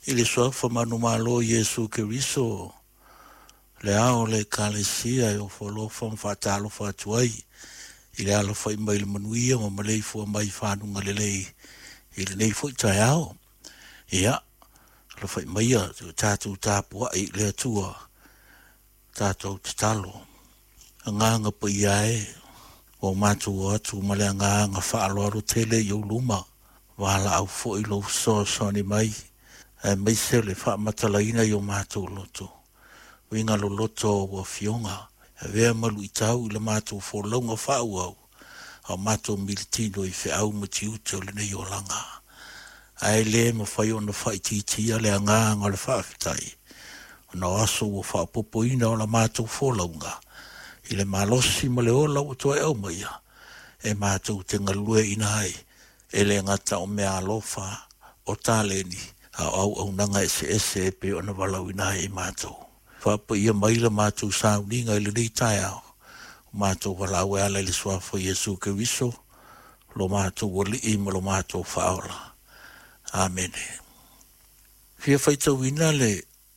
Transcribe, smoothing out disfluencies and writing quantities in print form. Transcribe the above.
I le Suafa manumalo o Iesu Keriso, le Ao o le Ekalesia e ofo alofa ma faatalofa atu ai i le alafai mai le manuia ma maleifua mai i fanuga lelei i lenei foi taeao. Ia, alafai maia o tatou tapuai i le Atua, tatou tatalo. Agaga Paia e, ua matou o atu ma le agaga faaaloalo tele i ou luma, valaau foi lou fesoasoani mai, aemaise le faamatalaina i o matou loto, uiga loloto o ou afioga, avea ma luitau i le matou folauga faaauau, a o matou militino i feau ma tiute o lenei olaga. Ae le mafai ona faaitiitia le agaga o le faafetai, ona o aso ua faaopoopoina o la matou folauga, i le malosi ma le ola ua toe aumaia, e matou te galueaiina ai, e le gata o meaalofa, o taleni, a o auaunaga eseese e pei ona valaauina ai i matou. Faapaia mai la matou sauniga i lenei taeao, o matou valaau e ala i le Suafa o Iesu Keriso, lo matou Alii ma lo matou Faaola. Amene. Fia faitauina le